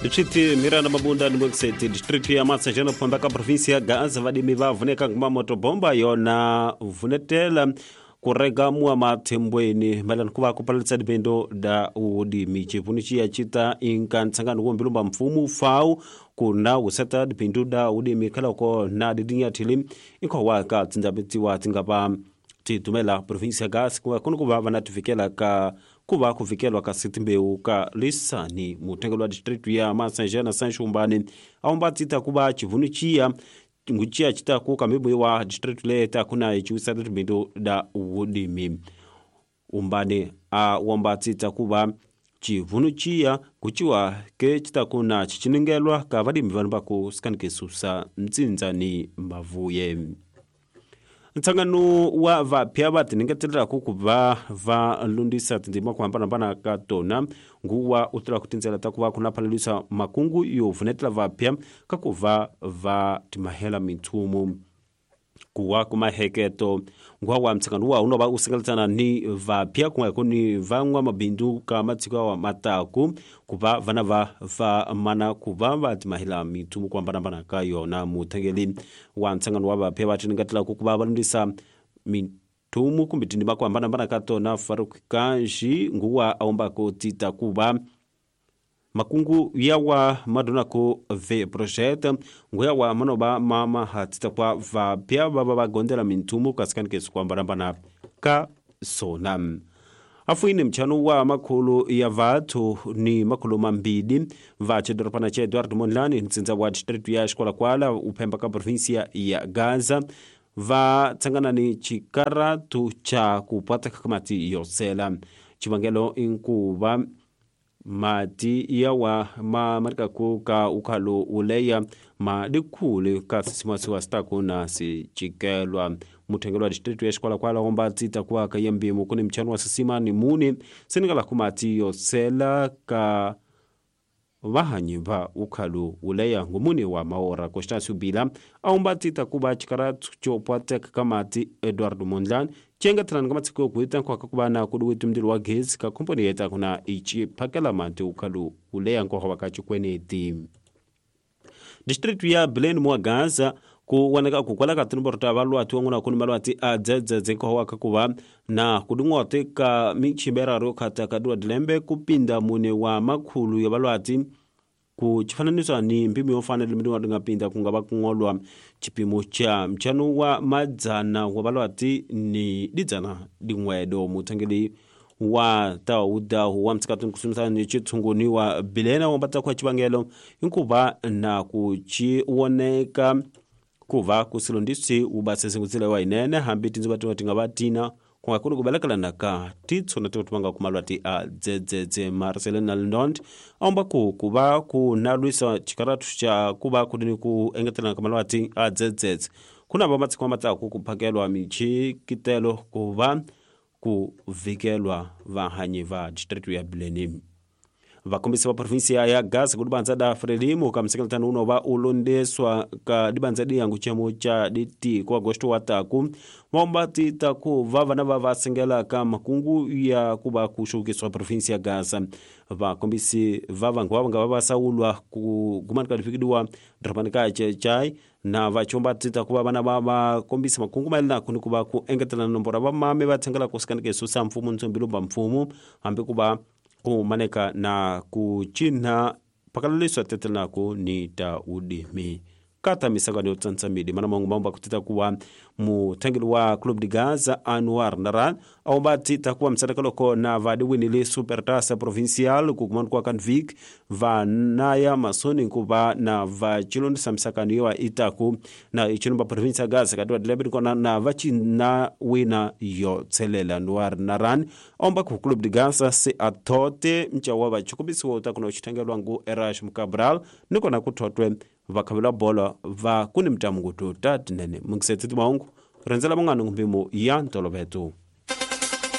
Distrito Miranda Mabunda ni Mwekiseti, distrito ya Massajana phomba ka provinsi ya Gaza vadimi va vuneka nguma motobomba yona vunetela kurega mua mathembweni mayelana ku va ku palalisa dibendo da udimi chivuni chiya chita inka ntsangano wo mbilumba mfumo fau kuna wuseta dibindu da udimi khalako na didinyathili inkhowa ka tsindzabetiwa tingava titumela provinsi ya Gaza kuva kuno kuva va na tifikela ka kuva kuvikelwa ka sitimbewu ka lisani mutengelo wa distritu ya Massajana Sanxumbani aumba tita kuva chivuni chiya nguchiya chitaku kambibu wa distritu leta kuna ichiwisa tibindu da udimi umbani a womba tita kuva chivunu chiya kuchiwa ke chitakuna chichiningelwa ka vadimi vanu vaku sikanikesusa mtsinzani mavuye. Ntsangano wa vapya va tiningeteleraku ku va va lundisa tindzima ku hambanahambana ka tona nguwa u tirha ku tindzela ta ku va ku na phalalisa makungu yo vunetela vapya ka ku va va timahela mithumu kuwa kumaheketo nguwa wa mtsangano wa unova u singeletsana ni vapya ku nga ku ni van'wamabindzu ka matiko wa mataku ku va vana va va mana ku va va timahela mithumu ku hambanahambana ka yona. Muthengeli wa ntsangano wa vapya va tiningetelaka ku va va lundisa mithumu kumbe tindzima ku hambanahambana ka tona Faruk Kanji nguwa a tita ku va makungu yawa madonako ve project nguya wa manoba mama hatita kwa vapya va va gondela minthumu kasikani ku hambanahambana ka sona. Afuini mchano wa makhulu ya vathu ni makhulu mambili va chidorobana cha Eduardo Mondlane ntsindza wa district ya Xikolakwala uphemba ka provinsia ya Gaza va tsangana ni chikaratu cha kupata kamati yosela chivangelo inkuva mati yawa ma marikaku ka ukhalo uleya ma dikhule ka sisimasiwa sitaku na sichikelwa. Muthengelo wa distritu ya Xikolakwala omba tsita kuwa ka yembimu kuni mchano wa sisima ni muni senengala kumati yosela ka vahanyi va ukhalo uleya ngumuni wa maora Constâncio Bila aumba tsita kuva chikaratu chopwateka kamati Eduardo Mondlane chengatirani ka matshiko yokuita nkwaka kuva na kudiwiti mndilo wa gezi ka komponi yeta kuna ichi phakela mati ukhalo uleya nkoha wa ka chikweneti. Distritu ya Belém mwa Gaza ku wanaka ku kwala ka tinomboro ta valwati wan'wana ku ni malwati a dzedzedze nkoha wa ka kuva na kuding'ote ka michimberaro khata ka diwa dilembe kupinda mune wa makhulu ya valwati ku chifananiso ni mpimo yo fanele mi nga pinda ku nga va kung'olwa chipimo cha mchano wa madzana wa valwati ni didzana din'wedo. Muthengeli wa tawudahu wa mtsikatini kusumisana ni chitshunguni wa Bilena wa mbatsa kwa chivangelo inkuva na ku chiwoneka kuva kusilondisi ubasese wa inene hambi tindziva tinga tinga va tina ku nga kuni ku velekelana ka titshona tinga kumalwati a dzedzedze. Marcelina Lindond aumba ku kuva ku na lwisa chikaratu cha kuva kudini ku engetelana ka malwati a dzedzedze kuna va matshiko matsaku ku phakelwa michikitelo ku va ku vikelwa vahanyi va district ya Belém. Vakombisi va provinsia ya Gaza ku dibanza da Frelimo ka msekeltano uno va ulondeswa ka dibanza diyangu chemo cha diti ku agosto wa taku vaomba tita ku va vana va va sengela ka makungu ya ku va ku xukiswa provinsia ya Gaza. Vakombisi va vangu va nga va saulwa ku gumani ka difikidiwa dorobani ka Chechai na vachomba tita ku va vana va va kombisa makungu mayelana ku ni ku va ku engetela nomboro va mame va tsengela ku sikanikeso sa mfumo ntsombilumba mfumo hambi ku va ku maneka na ku cina pakalaliswa tetelanaku ni ta udimi kata misangano yo tsantsamidi mana mangu mambo akutita kuwa muthengeli wa Club de Gaza Anwar Naran aumba tita kuwa msadakaloko na vadiwinile Supertasa Provincial kukumanu kwa Kanvik va naya masoni nkuva na vachilondisa misakano yowa itaku na ichilomba provincia Gaza katiwa dilembe kona na vachina wina yo tselela. Anwar Naran aumba ku Club de Gaza se atote mchawa vachikumbisiwa utakuna uchithengelwa ngu Erash Mukabral nikona kuthotwe vakhavela bola va kuni mtamungutu ta tinene mungisetiti maungu rendzela van'wana ngumpimo ya ntoloveto.